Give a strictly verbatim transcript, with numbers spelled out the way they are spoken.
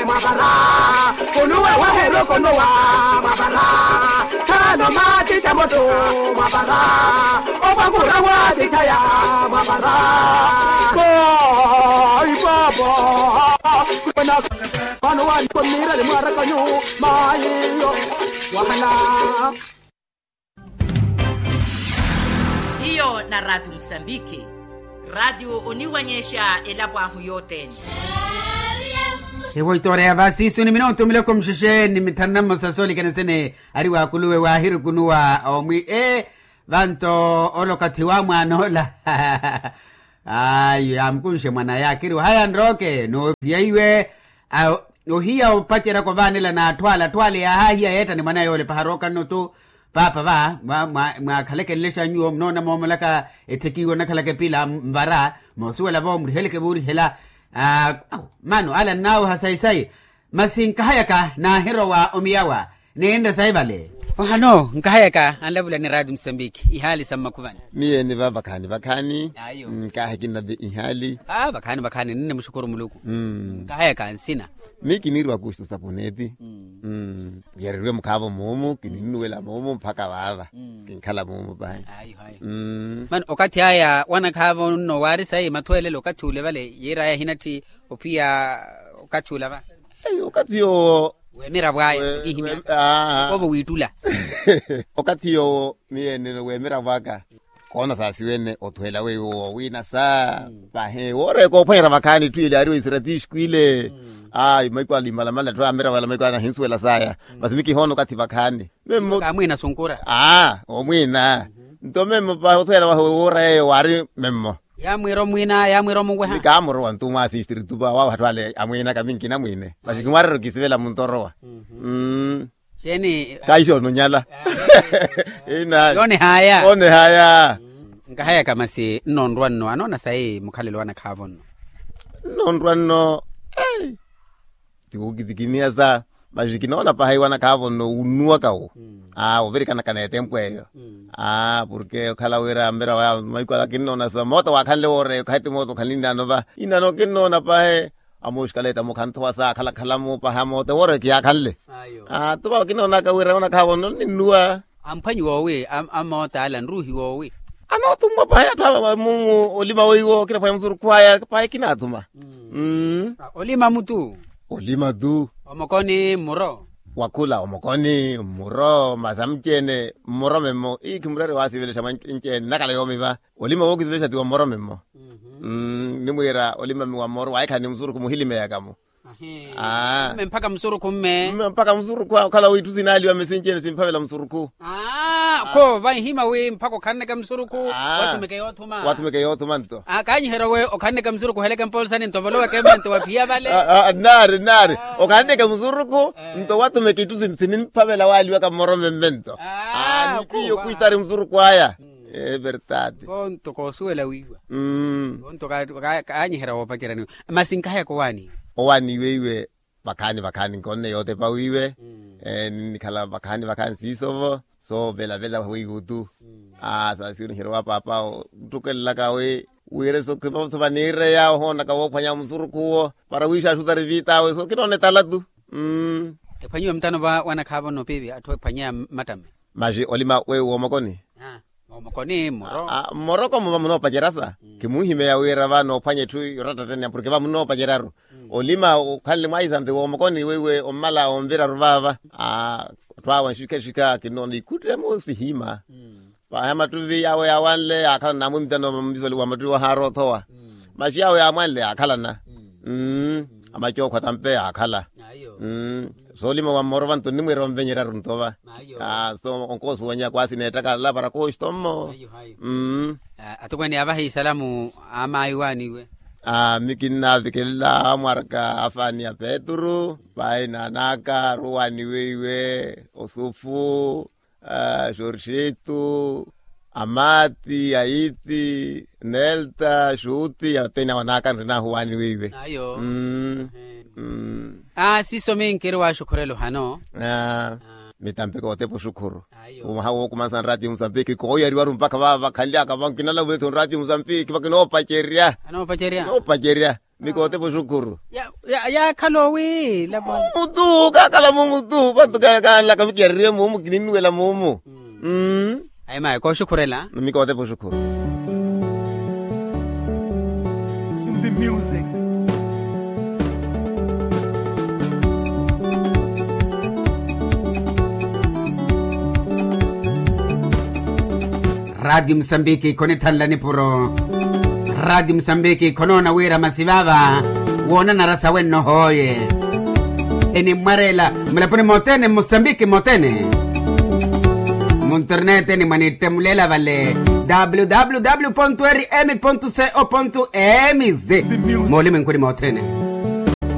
Mwavara kunuwe waherokonowa mwavara. Tano matita moto mwavara. Okwangura watitaya mwavara. Bai baba. Kwena. Vano wani komirale mwarakanyu. Mayiyo. Wahana. Hiyo na ratu musambiki. Ratu oniwanyexa elapo ahu yothene. Evo itoreya vasisu ni minutu miloko muxexe ni mithanu na mmosa soolikana sene. Ari wakuluwe wahirukunuwa omwi e vanto olokathi wa mwanoola. Ayo yamukunxe mwanaya akiri ohaya nroke noophiya iwe. Ohiya opacerya kovaanela n'atthu ale atthu ale yaahahiya yeetta ni mwanaya yoolepa harooka nno tu. Paapa va mwaakhaleke nlexa nyuwo munoona moomolaka etheki iwo onnakhalaka epila nvara. Moosuwela vo muriheleke vuurihela. Mano ala nnaaweha sayi sayi. Masi nkahayaka naahirowa omiyawa. Ninre sayi vale. Ohano nkahayaka anlavula ni raati musambiki ihaali sa mmakhuvani. Miyo eni va vakhaani vakhaani. Ayo. Nkaahe kinnave ihaali. Vakhaani vakhaani ninne muxukuru muluku. Nkahayaka nsina. Mi kiniiriwa kuxutu sapuneti. Yereriwe mukhaavo muumu kininnuwela muumu mpakha vaava. Kinkhala muumu pahi. Mano okathi aya wanakhaavo nno waari sayi mathweelelo okathi ule vale yiiraya hinatthi ophiya okathi ula va. Okathi yoowo weemira vwaya. Okoovo wiittula. Okathi yoowo miyo enene weemira vwaka. Koona saasiwene othuhela weiwo woowina sa pahi wooreeka ophwanyerya vakhaani etthu ile yaari weiseratixiku ile. Ayi maiko ale imalamala etthu aamira vale maiko anahinsuwela saya. Masi mikihoona okathi vakhaani. Memmo kaamwiina sunkura. Aa omwiina. Nto memmo pahi othuhela wahu woora yeeyo waari memmo. Yaamwiira omwiina yaamwiira omuweha. Ni kaamorowa nto mwaasistritupa wawaha atthu ale amwiina kaminki namwiine. Masi kimwaarerya okisivela muntorowa. Mmm. Xeeni? Kaixoona onyala. Yoonehaya. Yoonehaya. Nkahayaka masi nnonrwa nno anoona sayi mukhalelo wanakhaavo nno. Nnonrwa nno. Ti wokitikiniha sa. Masi kinoona pahi wanakhaavo nno wunnuwaka wo. Aa ovirikanaka n'etempo eyo. Aa porke okhala wira mbira waya maiko ala kinnoona sa moota waakhanle wooreya okathi moota okhalinnaano va. Inaano kinnoona pahi. Amooxikala etamo khanthowa saakhalakhala moopaha moote wooreke yaakhanle. Aa tova kinoonaka wira onakhaavo nno ninnuwa. Amphwanyi woowi? Amoota ala nruuhi woowi? Anootumwa pahi atthu ala mumu olima weiwo kinaphwanya musurukhu aya pahi kinaatuma. Olima mutu. Olima tu. Omokoni mmuro. Wakhula omokoni mmuro masi amuci-ene mmuro memmo ii khimurerya waasivelexa mwa nci-ene nnakhala yoomi va. Olima wookisivelexa ti wa mmoro memmo. Nimwiira olimami wa mmoro waahikhala ni musurukhu muhilimeyaka-mo. Mme mpakha musurukhu mme. Mme mpakha musurukhu okhala wiitthu sinaaliwa mme sinci-ene simphavela musurukhu. Kho vanhima wi mpakha okhanleke musurukhu wathumeke yoothuma. Wathumeke yoothuma nto. Kaanyiherya owe okhanleke musurukhu oheleke mpolisani nto voloweke mme nto waphiya vale. Nnaari nnaari okhanleke musurukhu nto wathumeke itthu sinimphavela waaliwaka mmoro mme mme nto. Ni pwiya okhwistari musurukhu aya. Everdade. Vonto koosuwela wiiwa. Vonto kaanyiherya woopaceryaniwa. Masi nkahayaka owaaniwe. Owaaniwe iwe vakhaani vakhaani nkonne yootepa wiiwe. Ninnikhala vakhaani vakhaani siiso vo soovelavela weiwo tu. Saasiweniherya wa paapa otthukelelaka wi wira sokhimotho vaniireya ohoonaka woophwanya musurukhu wo para wiixaaxutari viit'awe sookhinoona etala tu. Ephwanyiwe mutano va wanakhaavo nno piivi atthu ephwanyeya mmattamme. Masi olima weiwo woomokoni. Mmoroko mmo vamunoopacerya sa. Kimuhimeya wira va noophwanya etthu yorattattaniha porke vamunoopacerya-ru. Olima okhanle mwaisante woomokoni weiwe ommala onvira-ru vaava. Atthu awe anxikhaxikha kinnoona ikhuttemo sihima. Pahi amattuvi awe yaawanle yaakhalana namwimitano mmisoli wa mattuvi ohaaroothowa. Masi awe yaamwanle yaakhalana. Amacookho atampe yaakhala. Soolima wa mmoro vanto nnimwiira onvenyerya-ru nto va. So onkoosuwanya kwaasi neettakala para kooxito mmo. Atukweene yaavaha isalamu a maayi waaniwe. Mi kinnaavikela amwaraka afaani a petru pahi naanaka aruwaaniwe iwe osufu. Xorxitu, amati aiti, nelta xuti yateni awanaka nrinahu waani weiwe. Ayo. Siiso minkiri waxukhurela ohano. Mitampika otepa oxukhuru. Mwaha wookumansa nrati musambiki kooyariwaru mpakha vava vakhanlyaka vankinalavulethi nrati musambiki vakinoopacerya. Noopacerya. Mikootepa oxukhuru. Yaakhala owiila mutu kakhala mumutu vantu kanlaka mikyareriwe mumu kininnuwela mumu. Ayi mayi kooxukhurela. Mikootepa oxukhuru. Raatiyo musambiki khonithanla nipuro. Raatiyo musambiki khonoona wira masi vaava woonanara sawenno hooye. Enimmwareela mulapuni mothene mmusambiki mothene. Munterneteni mwanittemulela vale. Www rm co mz. Mooliminkuni mothene.